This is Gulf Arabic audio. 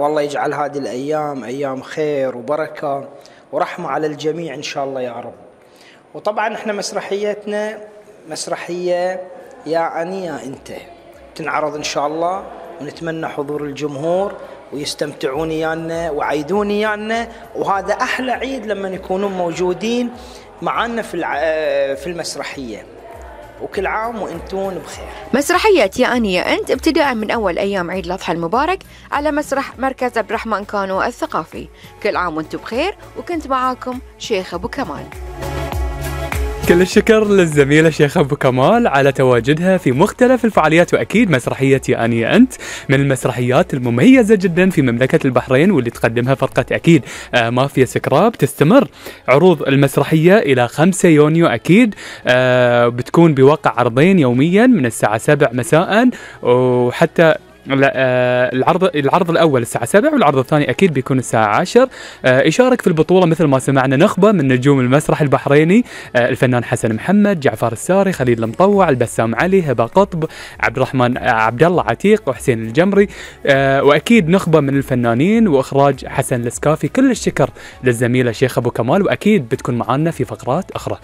والله يجعل هذه الأيام أيام خير وبركة ورحمة على الجميع إن شاء الله يا رب. وطبعا احنا مسرحيتنا مسرحية يا أني يا أنت، تنعرض إن شاء الله، ونتمنى حضور الجمهور ويستمتعون يانا وعيدون يانا، وهذا أحلى عيد لما يكونون موجودين معنا في المسرحية. وكل عام وانتون بخير. مسرحية يا أني يا أنت ابتداء من أول أيام عيد الأضحى المبارك على مسرح مركز عبد الرحمن كانو الثقافي. كل عام وانتم بخير، وكنت معاكم شيخ أبو كمال. كل الشكر للزميلة شيخ أبو كمال على تواجدها في مختلف الفعاليات، وأكيد مسرحية يا أني يا أنت من المسرحيات المميزة جدا في مملكة البحرين، واللي تقدمها فرقة أكيد مافيا سكراب. تستمر عروض المسرحية إلى 5 يونيو أكيد، بتكون بواقع عرضين يوميا من الساعة 7 مساء، وحتى العرض الأول الساعة 7 والعرض الثاني أكيد بيكون الساعة 10. يشارك في البطولة مثل ما سمعنا نخبة من نجوم المسرح البحريني، الفنان حسن محمد، جعفر الساري، خليل المطوع، البسام علي، هبة قطب، عبد الرحمن عبد الله عتيق، وحسين الجمري، وأكيد نخبة من الفنانين، وإخراج حسن السكافي. كل الشكر للزميلة شيخ أبو كمال، وأكيد بتكون معنا في فقرات أخرى.